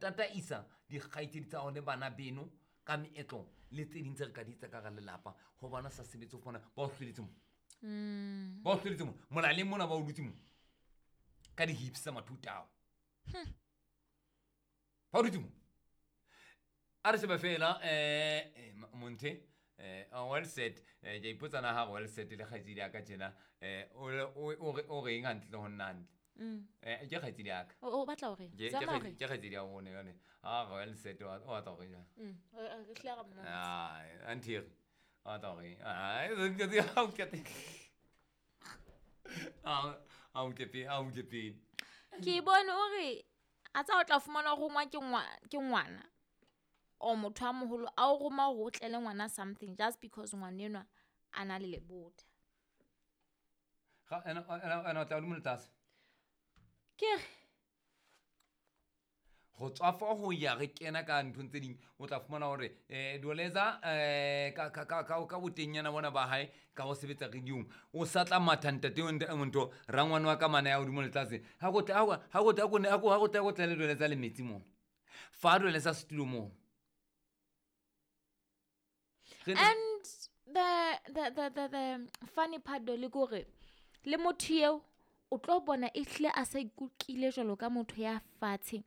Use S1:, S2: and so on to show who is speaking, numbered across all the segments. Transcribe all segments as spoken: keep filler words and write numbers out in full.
S1: Tataisa dikgaitsedi tsa hao le bana beno ka meetlo le tse ding tse re ka di etsa ka hara lelapa. Ho bona sa sebetse ho fumana ba o hlweletse mo.
S2: Mm.
S1: Ba o hlweletse mo. Molaleng mona ba o dutse mo. Ka di-hips tsa mathuta ao.
S2: Hmm.
S1: Ba o dutse mo. A re shebe fela, eh, eh, Monthe, eh, well said, eh, ke a ipotsa na ha well said le kgaitsedi ya ka tjena, eh, o le, o, o re, o reng hantle ho nna hantle?
S2: Mm.
S1: Eh, ke kgaitsedi ya ka.
S2: O, o batla hore?
S1: Ke, ke
S2: Zama
S1: kgaitsedi,
S2: hore?
S1: ke kgaitsedi ya bone yone. Ha well said, o, o batla hore jwang?
S2: Mm. O, o, re hlile ra mmona.
S1: Ah, Anthiri. O batla hore? Ah, ke ke ha o ke te. Ah, ha o ke pe, ha o ke pe.
S2: Ke bone hore a tsa o tla fumana rongwa ke ngwa, ke ngwana. O motho a moholo a o roma hore o tlele ngwana something just because ngwana enwa a na le lebota.
S1: Ga, ena, ena, ena o tla hodimo le tlase.
S2: Ke re.
S1: Ho tswa fa ho ya re kena ka nthong tse ding, o tla fumana hore, eh, Doleza, eh, ka, ka, ka, ka, ka botenyana bona ba hae, ka ho sebetsa radio-ong, o sa tla matha ntate o nte, o ntho, rangwane wa ka mane ya hodimo le tlase. Ha go tla, ha go, ha go tla, ha go, ha go, ha go tla, ha go tla le Doleza le metsi mona. Fa Doleza setulo mona. Re ne-
S2: And the, the, the, the, the funny part do le kore, le motho eo o tlo bona e hlile a sa ikutlwile jwalo ka motho ya fatshe,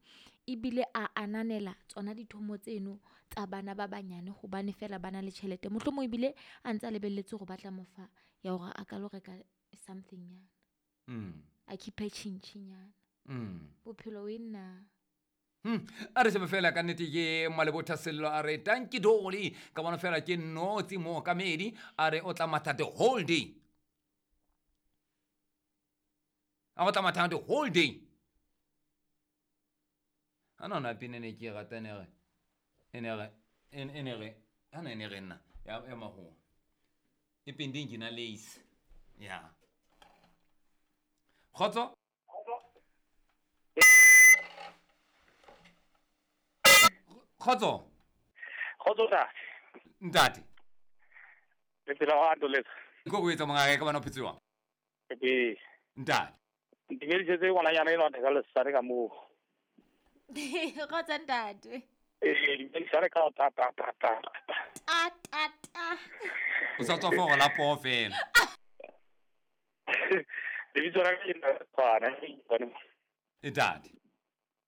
S2: ebile a ananela tsona dithomo tseno tsa bana ba banyane hobane fela ba na le tjhelete. Mohlomong ebile a ntse a lebelletse hore ba tla mo fa ya hore a ka lo reka something nyana.
S1: Mm.
S2: A keep-e tjhintjhi nyana.
S1: Mm.
S2: Bophelo e nna.
S1: Hmm. A re shebe fela ka nnete ke Malebotha Sello a re tanki doli ka bona fela ke notsi mookamedi a re o tla matha the whole day. A o tla matha the whole day. Ha nona pina ne ke e rata ne re, e ne re, e ne, e ne re, ha ne ne re nna, ya, ya mahoa. E pending ke na lace. Ya. Kgotso? Kgotso?
S3: Kgotso, ntate.
S1: Ntate.
S3: Le phela wa Doleza.
S1: Ke go etsa mongaka ka bana o phetse jwang?
S3: Ee.
S1: Ntate.
S3: Ntumedisetse ngwananyana enwa theka lesane ka moo.
S2: Kgotso, ntate.
S3: Ee, dumedisane ka ta, ta, ta, ta, ta.
S2: Ta, ta, ta.
S1: O sa tswa fo go la poo fela.
S3: Lebitso la ka ke nna Tshwana, ke
S1: E ntate.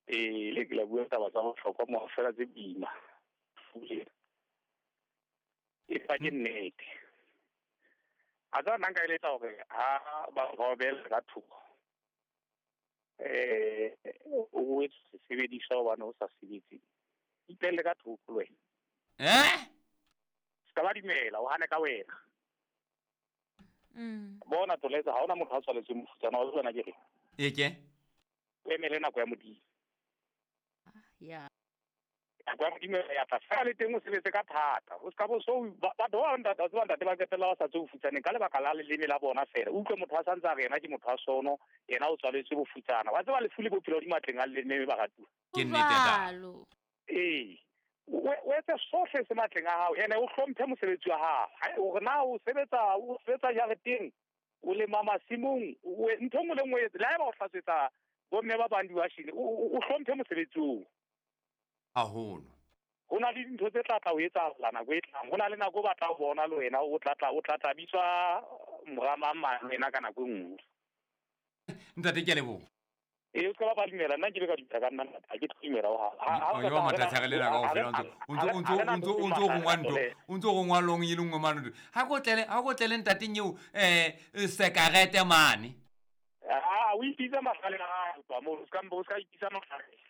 S3: Ee, le ke la bua taba tsa bohlokwa mo fela tse boima. Fule. E fa ke nnete. A tsa nna nka eletsa hore ha ba robela ka thoko. Eh, o etse sesebediswa hobane o sa sebetse. Ipelle ka thoko le wena.
S1: Eh?
S3: Se ka ba dumela, o hane ka wena.
S2: Mm.
S3: Bona Toleza, ha hona motho a tswaletsweng mofutsana, wa tseba na ke reng?
S1: E ke?
S3: O emele nako ya Modimo.
S2: Ya.
S3: Nako ya Modimo ya tla. Fela le teng o sebetse ka thata. O ska bo so ba, batho ba ntate, wa tseba ntate ba qetella ba sa tswe bofutsaneng ka lebaka la leleme la bona fela. O utlwe motho a santse a re yena ke motho wa sono, yena o tswaletswe bofutsana. Wa tseba lefu le bophelo di matleng a leleme ba ratuwa.
S1: Ke nnete, ntate.
S2: Jwalo.
S3: Ee. O, o etse sohle se matleng a hao, ene o hlomphe mosebetsi wa hao. Ha hore na o sebetsa, o sebetsa jareteng, o lema masimong, o e-, ntho e nngwe le nngwe e etse. Le haeba o hlatswetsa bomme ba bang diwashene, o, o, o hlomphe mosebetsi oo.
S1: Haholo.
S3: Ho na le dintho tse tla tla o etsahala nako e tlang. Ho na le nako o batla ho bona le wena, o tla tla, o tla tla bitswa mora mang mang le wena ka nako e nngwe.
S1: Ntate, ke a leboha.
S3: Ee, o ska ba ba dumela, nna nkile ka dumela ka nna ntate, ha ke tlo dumela ho hang. Ha, ha o
S1: O
S3: ka
S1: yo
S3: tla
S1: matha
S3: rena-
S1: tshwarele la kaofela,
S3: ha
S1: o ntso, o ntso, o ntso,
S3: ha rena
S1: o ntso, o ntso
S3: ntho
S1: rongwa ntho,
S3: tse
S1: o ntso rongwa long e le nngwe mane ntho. Ha ko tlele, ha ko tlele ntateng eo, eh, sekarete mane.
S3: Ah, o ipitsa mahlale a hao, ba moo, o ska mbo, o ska ipitsa mahlale.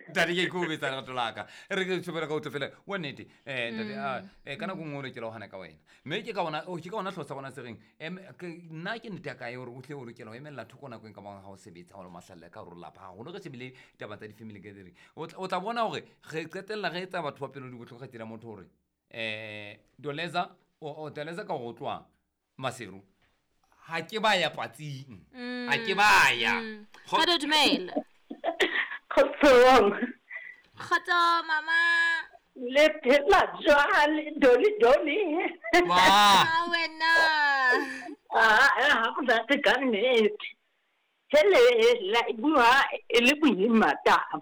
S1: Ntate, ke ikokobetsa lerato la ka. E re ke tshobela ka utlwe fela, wa nnete, eh, ntate,
S2: Mm.
S1: ah, eh, ka nako nngwe o lokela ho hana ka wena. Mme ke ka ona, oh, ke ka ona hlooho sa rona se reng, em, ke, nna ke nnete ya kae hore o hle o lokela ho emella thoko nako e ka bang ha o sebetsa, ha o le mahlale ka hore lapa haholo. Re shebile taba tsa di-family gathering. O tla, o tla bona hore re qetella re etsa batho ba pelo di bohloko, re tsela motho hore, eh, Doleza, o, o Doleza ka hore o tloha Maseru. Ha ke ba ya patsing.
S2: Mm.
S1: Ha ke ba ya.
S2: Mm.
S1: Kgo-
S2: Kgotso, dumela.
S4: Kgotsong.
S2: Kgotso, mama.
S4: Le phela jwale, Doli, Doli.
S1: Wa.
S2: Ha wena.
S4: Ah, ah, ha go rate ka nnete. Hele, la e bua e le boima taba.